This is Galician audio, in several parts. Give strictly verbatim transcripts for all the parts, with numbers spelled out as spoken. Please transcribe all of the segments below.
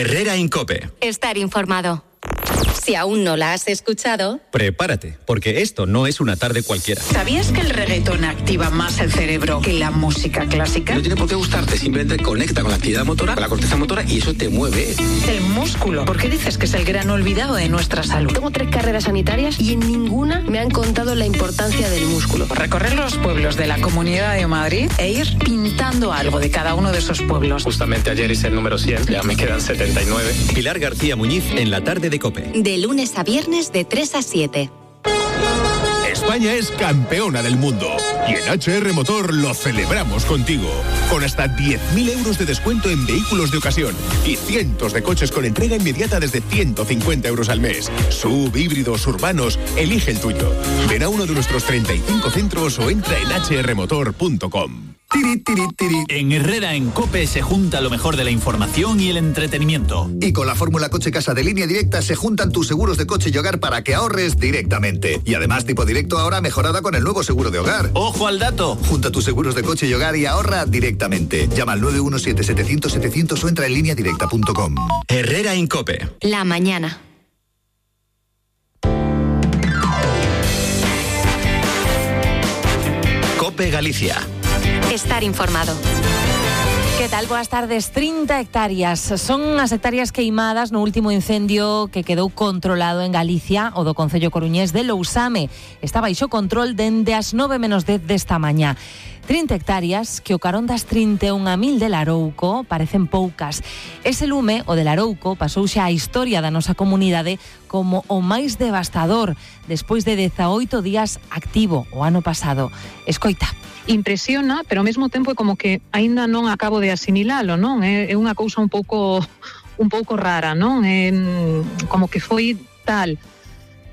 Herrera en COPE. Estar informado. Si aún no la has escuchado, prepárate, porque esto no es una tarde cualquiera. ¿Sabías que el reggaetón activa más el cerebro que la música clásica? No tiene por qué gustarte, simplemente conecta con la actividad motora, con la corteza motora, y eso te mueve. El músculo. ¿Por qué dices que es el gran olvidado de nuestra salud? Tengo tres carreras sanitarias y en ninguna me han contado la importancia del músculo. Recorrer los pueblos de la Comunidad de Madrid e ir pintando algo de cada uno de esos pueblos. Justamente ayer hice el número cien, ya me quedan setenta y nueve. Pilar García Muñiz en la tarde de COPE. De lunes a viernes de tres a siete. España es campeona del mundo y en H R Motor lo celebramos contigo. Con hasta diez mil euros de descuento en vehículos de ocasión y cientos de coches con entrega inmediata desde ciento cincuenta euros al mes. Sub, híbridos, urbanos, elige el tuyo. Ven a uno de nuestros treinta y cinco centros o entra en hache erre motor punto com. Tiri, tiri, tiri. En Herrera en COPE se junta lo mejor de la información y el entretenimiento. Y con la fórmula Coche Casa de Línea Directa se juntan tus seguros de coche y hogar para que ahorres directamente. Y además tipo directo ahora mejorada con el nuevo seguro de hogar. ¡Ojo al dato! Junta tus seguros de coche y hogar y ahorra directamente. Llama al nueve uno siete, setecientos, setecientos o entra en línea directa punto com. Herrera en COPE. La mañana. COPE Galicia. Estar informado. Que tal? Boas tardes. trinta hectáreas. Son as hectáreas queimadas no último incendio que quedou controlado en Galicia, o do concello coruñés de Lousame. Está baixo control dende as nove menos dez desta mañá. trinta hectáreas que o carón das trinta e un mil de Larouco parecen poucas. Ese lume, o de Larouco, pasou xa a historia da nosa comunidade como o máis devastador despois de dezaoito días activo o ano pasado. Escoita. Impresiona, pero ao mesmo tempo é como que aínda non acabo de asimilalo, non? É, é unha cousa un pouco un pouco rara, non? É como que foi tal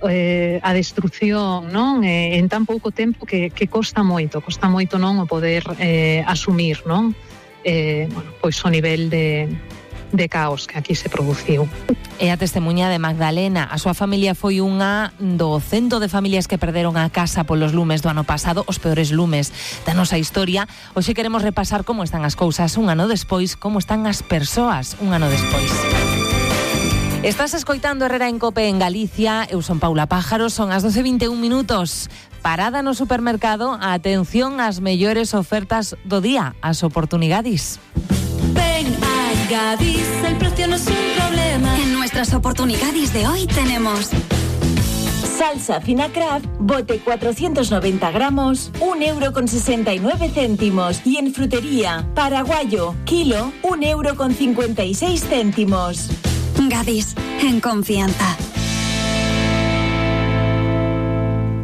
eh, a destrucción, non? Eh, en tan pouco tempo que, que costa moito, costa moito non o poder eh, asumir, non? Eh, bueno, pois o nivel de de caos que aquí se produciu. É a testemuña de Magdalena. A súa familia foi unha do cento de familias que perderon a casa polos lumes do ano pasado, os peores lumes da nosa historia. Hoxe queremos repasar como están as cousas un ano despois, como están as persoas un ano despois. Estás escoitando Herrera en COPE en Galicia. Eu son Paula Pájaro, son as doce e vinte e un minutos. Parada no supermercado, atención ás mellores ofertas do día, as oportunidades. Ven a Gadis, el precio no es un problema. En nuestras oportunidades de hoy tenemos salsa fina Kraft, bote cuatrocientos noventa gramos, un euro con sesenta y nueve céntimos. Y en frutería, paraguayo, kilo, un euro con cincuenta y seis céntimos. Gadis, en confianza.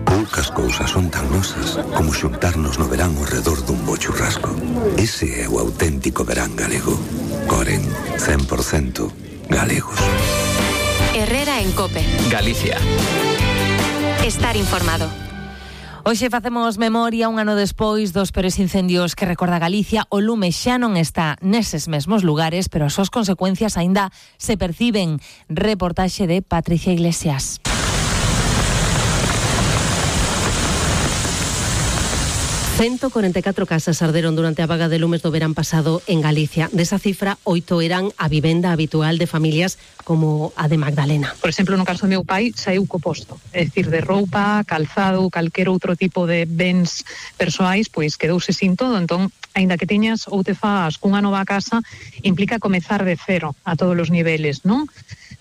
Poucas cousas son tan nosas como xuntarnos no verán ao redor dun bo churrasco. Ese é o auténtico verán galego. Coren, cen por ciento galegos. Herrera en COPE. Galicia. Estar informado. Hoxe facemos memoria un ano despois dos peores incendios que recorda Galicia. O lume xa non está neses mesmos lugares, pero as súas consecuencias aínda se perciben. Reportaxe de Patricia Iglesias. ciento cuarenta y catro casas arderon durante a vaga de lumes do verán pasado en Galicia. Desa cifra, oito eran a vivenda habitual de familias como a de Magdalena. Por exemplo, no caso do meu pai, saiu co posto. É dicir, de roupa, calzado, calquer outro tipo de bens persoais, pois quedouse sin todo. Entón, aínda que teñas ou te faz cunha nova casa, implica comezar de cero a todos os niveles, non?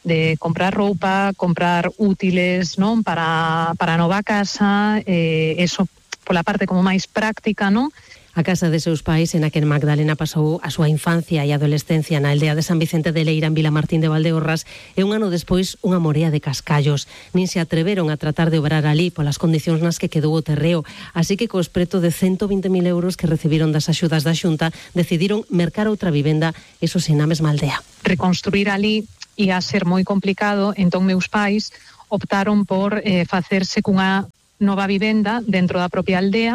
De comprar roupa, comprar útiles, non? Para, para a nova casa, eh, eso pola parte como máis práctica, non? A casa de seus pais, en a que Magdalena pasou a súa infancia e adolescencia na aldea de San Vicente de Leira, en Vilamartín de Valdeorras, e un ano despois unha morea de cascallos. Nin se atreveron a tratar de obrar ali polas condicións nas que quedou o terreo, así que cos preto de ciento vinte mil euros que recibiron das axudas da Xunta, decidiron mercar outra vivenda, eso sen na mesma aldea. Reconstruir ali ia ser moi complicado, entón meus pais optaron por eh, facerse cunha nova vivenda dentro da propia aldea,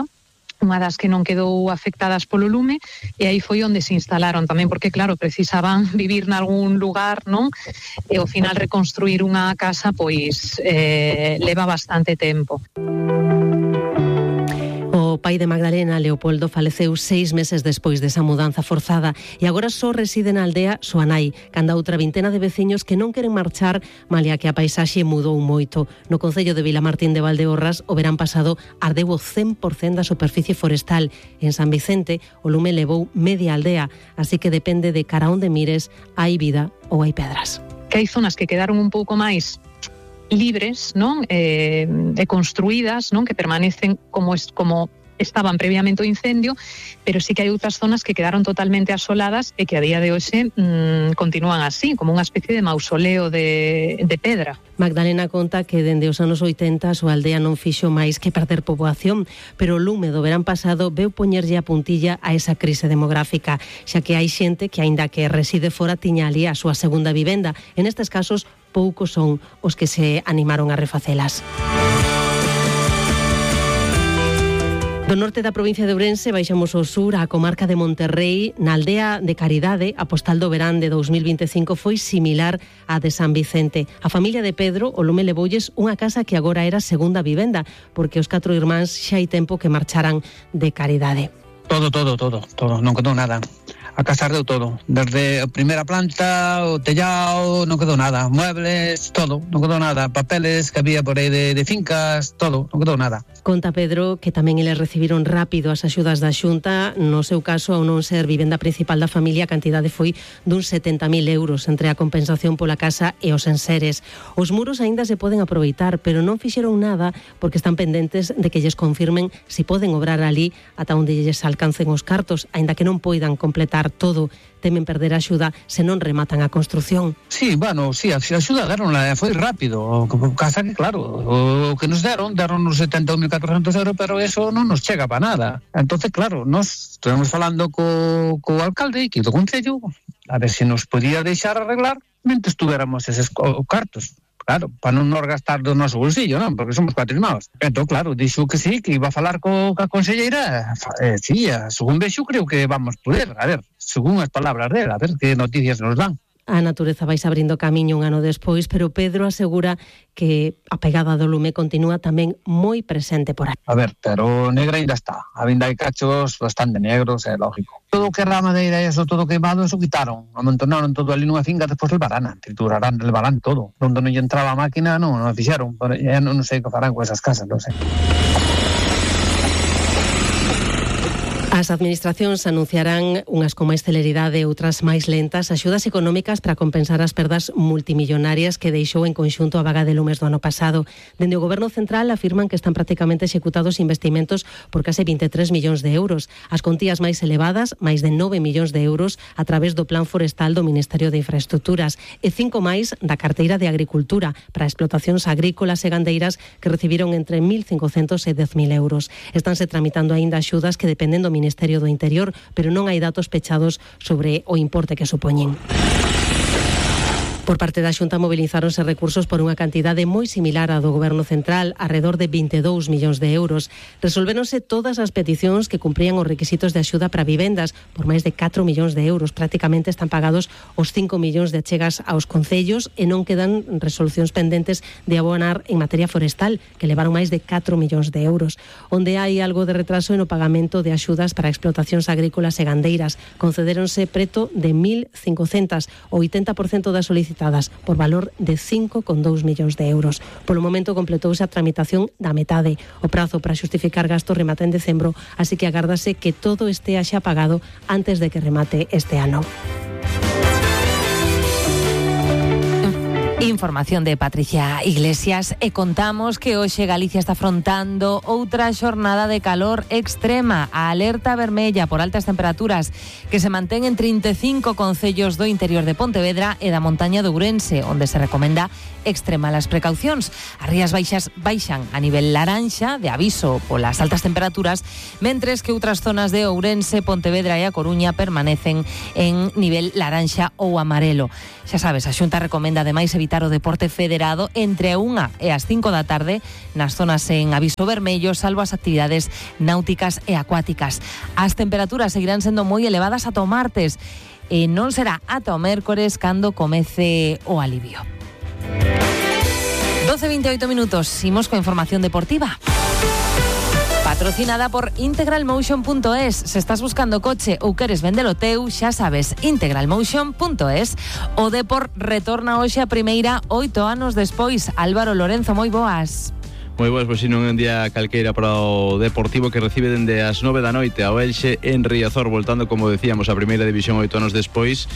unha das que non quedou afectadas polo lume, e aí foi onde se instalaron tamén, porque claro, precisaban vivir nalgún lugar, non? E ao final reconstruir unha casa pois eh, leva bastante tempo. O O pai de Magdalena, Leopoldo, faleceu seis meses despois desa mudanza forzada e agora só reside na aldea súa nai, canda outra vintena de veciños que non queren marchar, malia que a paisaxe mudou moito. No concello de Vilamartín de Valdeorras, o verán pasado ardeu o cen por cento da superficie forestal. En San Vicente, o lume levou media aldea, así que depende de cara onde mires, hai vida ou hai pedras. Que hai zonas que quedaron un pouco máis libres, non? Eh, e construídas, non? Que permanecen como es, como estaban previamente o incendio, pero sí que hai outras zonas que quedaron totalmente asoladas e que a día de hoxe mmm, continúan así, como unha especie de mausoleo de, de pedra. Magdalena conta que dende os anos oitenta a súa aldea non fixo máis que perder poboación, pero o lume do verán pasado veu poñerlle a puntilla a esa crise demográfica, xa que hai xente que, aínda que reside fora, tiña ali a súa segunda vivenda. En estes casos, poucos son os que se animaron a refacelas. Do norte da provincia de Ourense baixamos ao sur, á comarca de Monterrei. Na aldea de Caridade, a postal do verán de dos mil vinte e cinco foi similar á de San Vicente. A familia de Pedro, o lume levoulles unha casa que agora era segunda vivenda, porque os catro irmáns xa hai tempo que marcharan de Caridade. Todo, todo, todo, todo, non quedou nada. A casa ardeu todo, desde a primeira planta, o tellado, non quedou nada, muebles, todo, non quedou nada, papeles que había por aí de, de fincas, todo, non quedou nada. Conta Pedro que tamén eles recibiron rápido as axudas da Xunta. No seu caso, ao non ser vivenda principal da familia, a cantidade foi duns setenta mil euros entre a compensación pola casa e os enseres. Os muros aínda se poden aproveitar, pero non fixeron nada porque están pendentes de que lles confirmen se poden obrar ali ata onde lles alcancen os cartos, aínda que non poidan completar todo. Temen perder a axuda se non rematan a construción. Sí, bueno, sí, a axuda deronla, foi rápido. O casa que, claro, o que nos deron, deron uns setenta mil catrocentos euros, pero eso non nos chega para nada. Entonces, claro, nos estuvemos falando co, co alcalde e do concello, a ver se nos podía deixar arreglar mentre estuviéramos eses cartos. Claro, para non nos gastar do noso bolsillo, non? Porque somos cuatro irmãos. Entón, claro, dixo que sí, que iba a falar co, ca conselleira. Eh, sí, según vexo, creo que vamos poder. A ver, según as palabras dela, a ver que noticias nos dan. A natureza vais abrindo camiño un ano despois, pero Pedro asegura que a pegada do lume continúa tamén moi presente por aí. A ver, pero negra ainda está. A vinda hai cachos bastante negros, é lógico. Todo o que era madeira e eso, todo queimado, eso quitaron. Amontonaron todo ali nunha finca, despois levarán, triturarán, levarán todo. Donde non lle entraba a máquina, non, non fixeron. Ya non, non sei que farán con esas casas, non sei. As administracións anunciarán unhas con máis celeridade e outras máis lentas axudas económicas para compensar as perdas multimillonarias que deixou en conxunto a vaga de lumes do ano pasado. Dende o Goberno Central afirman que están prácticamente executados investimentos por case vinte e tres millóns de euros. As contías máis elevadas, máis de nove millóns de euros a través do Plan Forestal do Ministerio de Infraestructuras e cinco máis da carteira de Agricultura para explotacións agrícolas e gandeiras que recibiron entre mil cincocentos e dez mil euros. Estánse tramitando aínda axudas que dependen do Ministerio Ministerio do Interior, pero non hai datos pechados sobre o importe que supoñen. Por parte da Xunta mobilizáronse recursos por unha cantidade moi similar á do Goberno Central, arredor de vinte e dous millóns de euros. Resolvéronse todas as peticións que cumprían os requisitos de axuda para vivendas por máis de catro millóns de euros. Prácticamente están pagados os cinco millóns de achegas aos concellos e non quedan resolucións pendentes de abonar en materia forestal, que levaron máis de catro millóns de euros. Onde hai algo de retraso en o pagamento de axudas para explotacións agrícolas e gandeiras. Concedéronse preto de mil cincocentas, o oitenta por cento das solicitadas por valor de cinco coma dous millóns de euros. Polo momento completouse a tramitación da metade. O prazo para xustificar gastos remata en decembro, así que agárdase que todo estea xa pagado antes de que remate este ano. Información de Patricia Iglesias e contamos que hoxe Galicia está afrontando outra xornada de calor extrema. A alerta vermella por altas temperaturas que se mantén en trinta e cinco concellos do interior de Pontevedra e da montaña de Ourense, onde se recomenda extremar as precaucións. As rías baixas baixan a nivel laranxa de aviso polas altas temperaturas, mentres que outras zonas de Ourense, Pontevedra e A Coruña permanecen en nivel laranxa ou amarelo. Xa sabes, a Xunta recomenda ademais evitar o deporte federado entre a unha e as cinco da tarde nas zonas en aviso vermello, salvo as actividades náuticas e acuáticas. As temperaturas seguirán sendo moi elevadas ata o martes e non será ata o mércores cando comece o alivio. doce e veinte e oito minutos, imos coa información deportiva. Patrocinada por integral motion punto es. Se estás buscando coche ou queres vendelo teu, xa sabes, integral motion punto es. O Depor retorna hoxe a primeira oito anos despois. Álvaro Lorenzo, moi boas. Moi boas, pois non é un día calqueira para o Deportivo, que recibe dende as nove da noite ao Elxe en Riazor, voltando, como decíamos, a primeira división oito anos despois,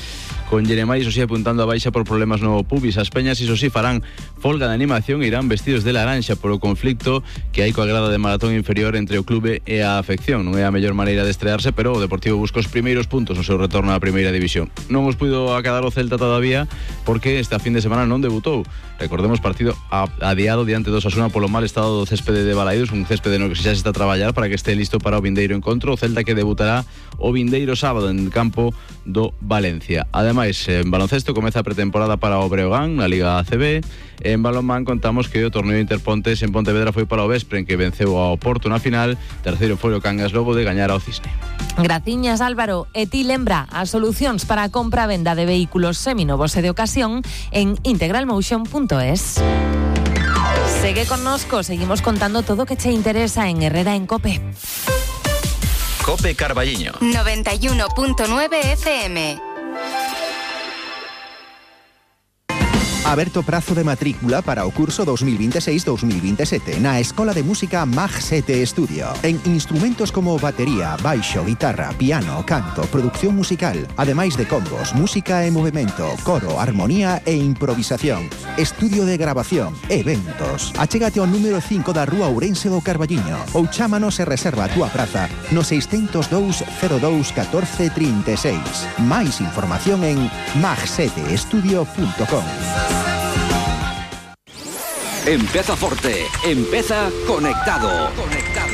con Jeremai, iso sí, apuntando a baixa por problemas no pubis. As peñas, iso sí, farán folga de animación e irán vestidos de laranxa polo conflicto que hai coa grada de maratón inferior entre o clube e a afección. Non é a mellor maneira de estrearse, pero o Deportivo busca os primeiros puntos no seu retorno á primeira división. Non os puido acadar o Celta todavía porque esta fin de semana non debutou. Recordemos, partido adiado diante do Osasuna polo mal estado do céspede de Balaídos, un céspede no que xa se está a traballar para que este listo para o vindeiro encontro. O Celta que debutará o vindeiro sábado en campo do Valencia. Ademais, en baloncesto comeza a pretemporada para o Breogán na Liga A C B. En balonmán contamos que o torneo Interpontes en Pontevedra foi para o Vespre, en que venceu ao Porto na final. Terceiro foi o Cangas logo de gañar ao Cisne. Graciñas, Álvaro. E ti lembra as solucións para a compra e venda de vehículos seminovos e de ocasión en integral motion punto es. Segue connosco, seguimos contando todo o que che interesa en Herrera en Cope. Cope Carballiño noventa y uno punto nueve F M. Aberto prazo de matrícula para o curso dos mil veintiséis dos mil veintisiete na Escola de Música M A G sete Estudio. En instrumentos como batería, baixo, guitarra, piano, canto, producción musical, ademais de combos, música e movimento, coro, armonía e improvisación, estudio de grabación, eventos. Achégate ao número cinco da Rúa Ourense do Carballiño ou chámanos e reserva a túa praza no seiscentos dous cero dous catorce trinta e seis. Máis información en mag sete estudio punto com. Empeza forte, empeza conectado. Conectado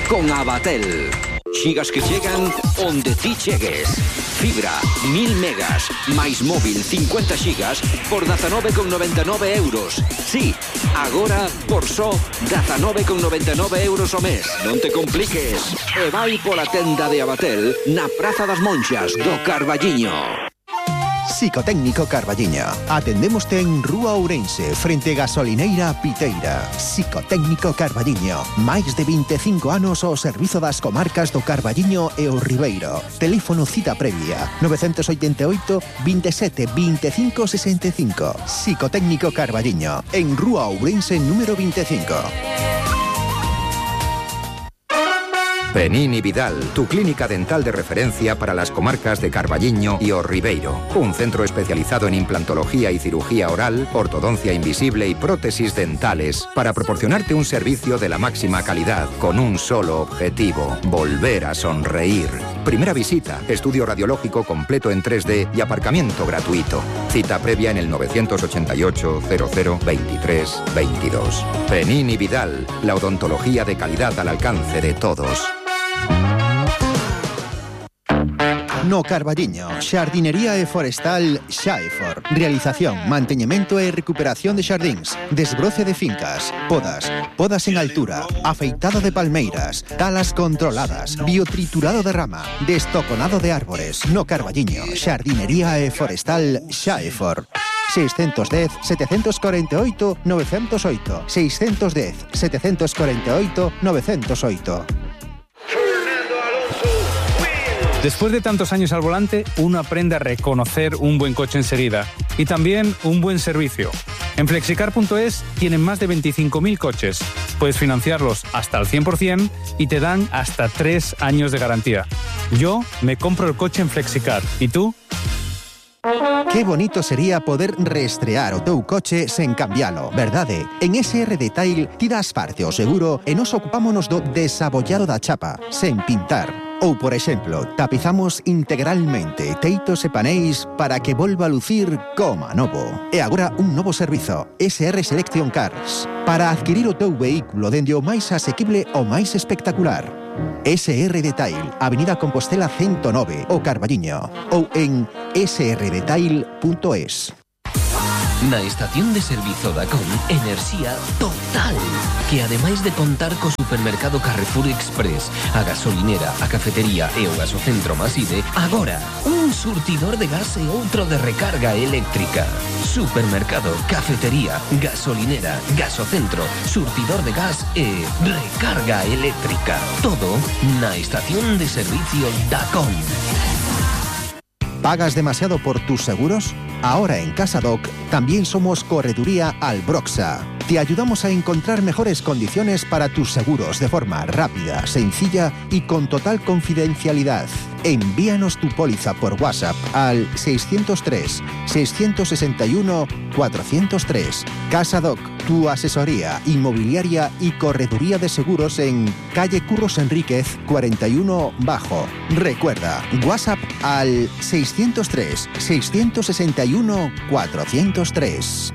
con Abatel. Xigas que chegan onde ti chegues. Fibra, mil megas, máis móvil cincuenta xigas por dezanove con noventa e nove euros. Sí, agora por só dezanove con noventa e nove euros ao mes. Non te compliques. E vai pola tenda de Abatel na Praza das Monxas do Carballiño. Psicotécnico Carballiño. Atendémoste en Rúa Ourense, frente Gasolineira Piteira. Psicotécnico Carballiño. Máis de veinticinco anos ao servizo das comarcas do Carballiño e o Ribeiro. Teléfono cita previa novecientos ochenta e oito, veintisiete, veinticinco, sesenta e cinco. Psicotécnico Carballiño. En Rúa Ourense número veinticinco. Penini Vidal, tu clínica dental de referencia para las comarcas de Carballiño y O Ribeiro. Un centro especializado en implantología y cirugía oral, ortodoncia invisible y prótesis dentales para proporcionarte un servicio de la máxima calidad con un solo objetivo: volver a sonreír. Primera visita, estudio radiológico completo en tres D y aparcamiento gratuito. Cita previa en el novecientos ochenta y ocho, cero cero, veintitrés, veintidós. Penini Vidal, la odontología de calidad al alcance de todos. No Carballiño, xardinería e forestal Xaefor. Realización, manteñemento e recuperación de xardíns, desbroce de fincas, podas, podas en altura, afeitado de palmeiras, talas controladas, biotriturado de rama, destoconado de árbores. No Carballiño, xardinería e forestal Xaefor. seiscentos dez, setecientos cuarenta y ocho, novecientos ocho. seiscentos dez, setecientos cuarenta y ocho, novecientos ocho. Después de tantos años al volante, uno aprende a reconocer un buen coche enseguida y también un buen servicio. En flexicar punto es tienen más de veinticinco mil coches. Puedes financiarlos hasta el cien por ciento y te dan hasta tres años de garantía. Yo me compro el coche en Flexicar. ¿Y tú? Qué bonito sería poder reestrear o teu coche sen cambialo, verdade? En S R Detail ti das parte o seguro e nos ocupámonos do desabollado da chapa, sen pintar. Ou, por exemplo, tapizamos integralmente teitos e paneis para que volva a lucir como novo. E agora un novo servizo, S R Selection Cars, para adquirir o teu vehículo dende o máis asequible ao máis espectacular. S R Detail, Avenida Compostela ciento nove, o Carballiño, ou en s r detail punto es. Na estación de servizo Dacom, enerxía total, que ademais de contar co supermercado Carrefour Express, a gasolinera, a cafetería e o gasocentro Maside, agora un surtidor de gas e outro de recarga eléctrica. Supermercado, cafetería, gasolinera, gasocentro, surtidor de gas e recarga eléctrica. Todo na estación de servicio Dacom. ¿Pagas demasiado por tus seguros? Ahora en CasaDoc también somos Correduría Albroxa. Te ayudamos a encontrar mejores condiciones para tus seguros de forma rápida, sencilla y con total confidencialidad. Envíanos tu póliza por WhatsApp al seiscientos tres, seiscientos sesenta y uno, cuatrocientos tres. CasaDoc, tu asesoría inmobiliaria y correduría de seguros en calle Curros Enríquez cuarenta y uno Bajo. Recuerda, WhatsApp al seiscientos tres, seiscientos sesenta y uno, cuatrocientos tres.